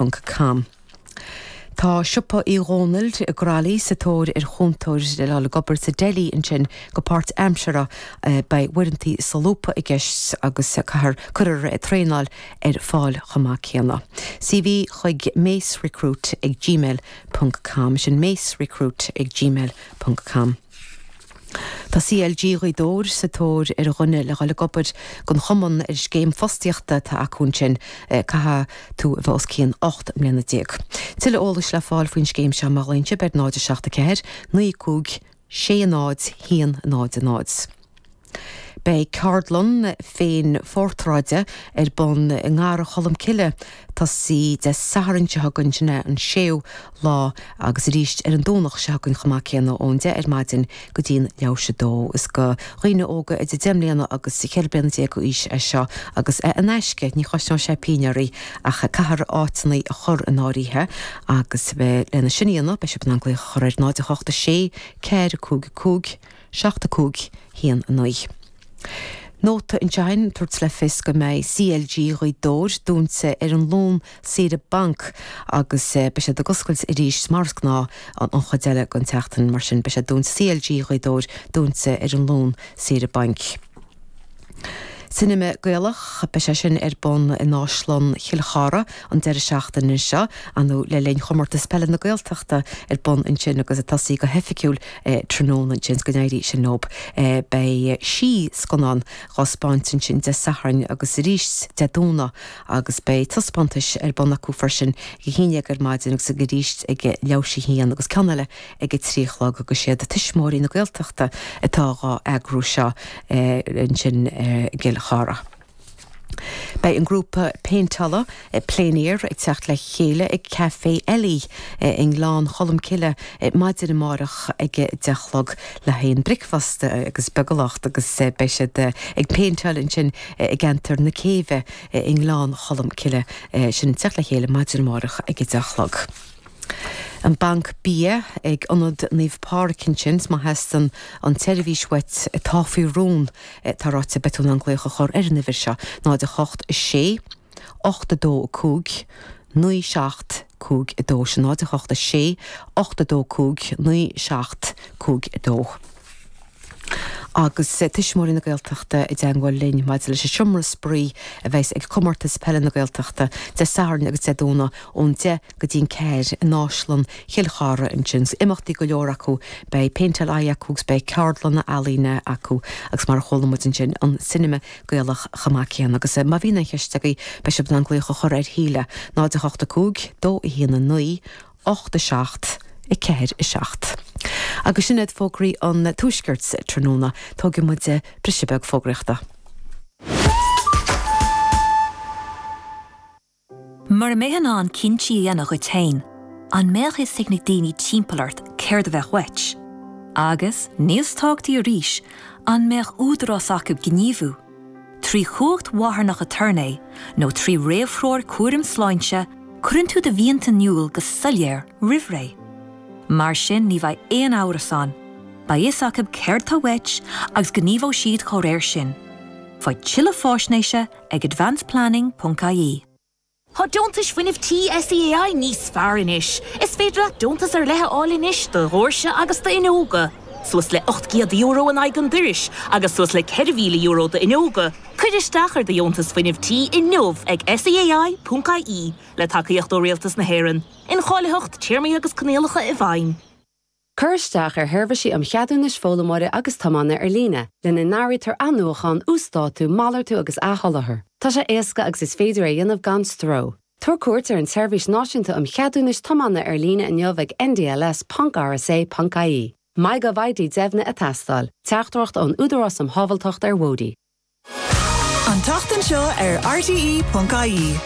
Com. Tá Siopa Uí Dhónaill i gCroithlí sa tóir ar chúntóir le dhul ag obair sa deli ansin go páirtaimseartha. Beidh uaireanta solúbtha i gceist agus caithfear cuirfear traenáil ar fáil chomh maith céanna. CV chuig macerecruit ag gmail ponc com. Sin macerecruit ag gmail ponc com. Tá CLG Ghaoth Dobhair sa tóir ar dhuine le dhul ag obair don chumann ar scéim fostaíochta atá acu ansin. Caithfidh tú a bheith os cionn 18 mbliana. Tuilleadh eolais le fáil faoin scéim seo má ghlaonn sibh ar 0 7 4 9 5 6 0 1 0 0. Beidh ceardlann féin-phortráide ar bun i nGarrdha Cholm Cille ag tosaí Dé Sathairn seo chugainn, sin é an séú lá, agus arís ar an Domhnach seo chugainn chomh maith céanna ón 10 ar maidin go dtí'n leathuair théis a dó. Is do dhaoine óga idir 10 mbliana agus 14 bliana d'aois é seo agus é in aisce, ní chosnóidh sé pingin oraibh ach caithfear áiteanna a chur in áirithe agus lena sin a dhéanamh beidh sibh in ann glaoch a chur ar 0 8 6 4 5 5 7 5 1 9. Nóta anseo againn ag tabhairt le fios go mbeidh CLG Ghaoth Dobhair dúnta ar an Luan saoire bainc agus beidh siad ag oscailt arís mar is gnáth an chuid eile den tseachtain mar sin beidh sé dúnta CLG Ghaoth Dobhair dúnta ar an Luan saoire bainc. Cinema Gaelach, beidh sé sin ar bun in Áislann Chill Chartha an deireadh seachtaine seo, nó le linn Chomórtas Peile na Gaeltachta ar bun ansin agus ag tosaí go hoifigiúil tráthnóna ansin, go n-éirí sin leob. Beidh sí scannán dhá 'spáint ansin Dé Sathairn agus arís Dé Domhnaigh agus beidh taispeántais ar bun acu freisin ag a haon dhéag ar maidin agus arís ag leathuair théis a haon agus ceann eile ag a 3 a chlog agus siad Tuismitheoirí na Gaeltachta atá dhá eagrú seo ansin i gCill Chartha. Beidh an grúpa péinteála Plein Air ag teacht le chéile ag Café Ellie i nGleann Cholm Cille maidin amárach ag a 10 a chlog le haghaidh an bricfeasta agus beagalocht agus beidh siad ag péinteáil ansin i gceantar na Céibhe i nGleann Cholm Cille sin ag teacht le chéile maidin amárach ag a 10 a chlog. An Banc Bia ag Ionad Naomh Pádraig ansin, má theastaíonn an tseirbhís uait atá faoi rún, tá ráite, beidh tú in ann glaoch a chur ar an uimhir seo, 0 8 6 8 2 5 9 7 5 2, sin 0 8 6 8 2 5 9 7 5 2. Agus Tuismitheoirí na Gaeltachta i dteangmháil linn maidir leis an seomra spraoi a bheas ag Comórtas Peile na Gaeltachta Dé Sathairn agus Dé Domhnaigh ón 10 go dtí'n 4 in Áislann Chill Chartha ansin. Imeachtaí go leor acu, beidh péinteáil aghaidhe acu agus beidh ceardlanna ealaíne acu agus mar a chuala muid ansin, an Cinema Gaelach chomh maith céanna. Agus má bhíonn aon cheist agaibh beidh sibh in ann glaoch a chur ar Shíle, 0 8 5 2 1 9 8 7 4 7. Agus sin iad fógraí an Tuaiscirt tráthnóna. Tógfaidh muid briseadh beag fógraíochta. Mura mbeifeá in ann cinntí a dhéanamh dhuit féin, an mbeadh fhios ag na daoine timpeall ort céard a bheadh uait? Agus, níos tábhachtaí arís, an mbeadh údarás acu gníomhú? Trí chumhacht mharthanach aturnae nó trí réamhthreoir cúraim sláinte, cuireann tú do mhianta in iúl go soiléir roimh ré. Mar sin ní bheidh aon amhras ann, beidh fhios acu céard tá uait agus gníomhóidh siad dá réir sin. Faigh tuilleadh faisnéise ag advanceplanning.ie. Tá deontais fuinnimh tí SEAI níos fearr anois. Is féidir leat deontas ar leith a fháil anois do dhoirse agus d'fhuinneoga, suas le €800 in aghaidh an dorais agus suas le €4,000 d'fhuinneoga. Cuir isteach ar do dheontas fuinnimh tí inniu ag seai.ie le tacaíocht ó Rialtas na hÉireann. Incháilitheacht, téarmaí agus coinníollacha i bhfeidhm. Cuir isteach ar sheirbhísí um cheadúnais foghlaimeora agus tiomána ar líne, lena n-áirítear athnuachan, uasdátú, malartú agus athsholáthar. Tá sé éasca agus is féidir é a dhéanamh gan stró. Tabhair cuairt ar an tSeirbhís Náisiúnta um Cheadúnais Tiomána ar líne inniu ag ndls.rsa.ie. MyGovID deimhnithe ag teastáil. Teachtaireacht ón Údarás um Shábháilteacht ar Bhóithre. An tseachtain seo ar RTÉ.ie,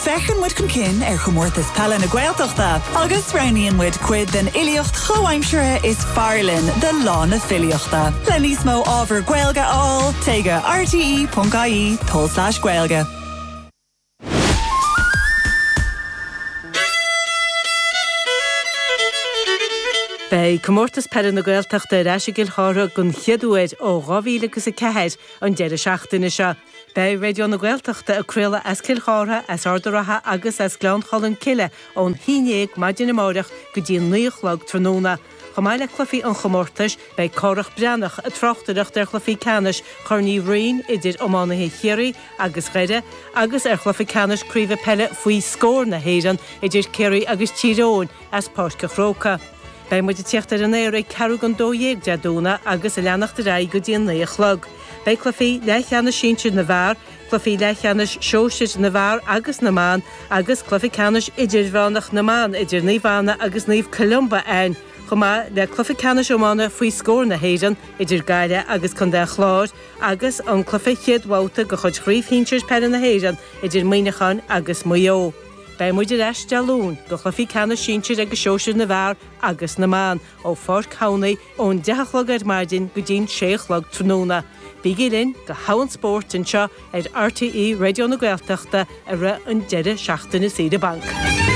féachann muid chun cinn ar Chomórtas Peile na Gaeltachta agus roghnaíonn muid cuid den fhilíocht chomhaimseartha is fearr linn do Lá na Filíochta. Le níos mó ábhar Gaeilge a fháil, téigh go rte.ie tulslais Gaeilge. Beidh Comórtas Peile na Gaeltachta ar ais i gCill Chartha den chéad uair ó 2004 an deireadh seachtaine seo. Beidh Raidió na Gaeltachta ag craoladh as Cill Chartha, as Ard a' Rátha agus as Gleann Cholm Cille ón haon dhéag maidin amáireach go dtí an 9 a chlog tráthnóna. Chomh maith le cluichí an chomórtais, beidh Cárthach Breathnach ag tráchtaireacht ar chluichí ceannais Chorn Uí Rinn idir iománaithe Chiarraí agus Dhoire agus ar chluiche ceannais craoibhe peile faoi scór na hÉireann idir Ciarraí agus Tír Eoghain as Páirc an Chrócaigh. Beidh muid ag tíocht ar an aer ag ceathrú don 12 Dé Domhnaigh agus ag leanacht ar aghaidh go dtí an 9 a chlog. Beidh cluichí leathcheannais sinsir na bhfear, cluichí leathcheannais sóisir na bhfear agus na mban agus cluiche ceannais idirmheánach na mban idir Naomh Anna agus Naomh Columba ann, chomh maith le cluiche ceannais iomána faoi scór na hÉireann idir Gaillimh agus Contae an Chláir agus an cluiche chéad bhabhta de chuid Chraobh Shinsir Peile na hÉireann idir Muineachán agus Maigh Eo. Beidh muid ar ais Dé Luain do chluichí ceannais sinsir agus sóisir na bhfear agus na mban ó Pháirc Thamhnaigh ón 10 a chlog ar maidin go dtí'n 6 a chlog tráthnóna. Bígí linn do thogha an spóirt anseo ar RTÉ Raidió na Gaeltachta i rith an deireadh seachtaine saoire bainc.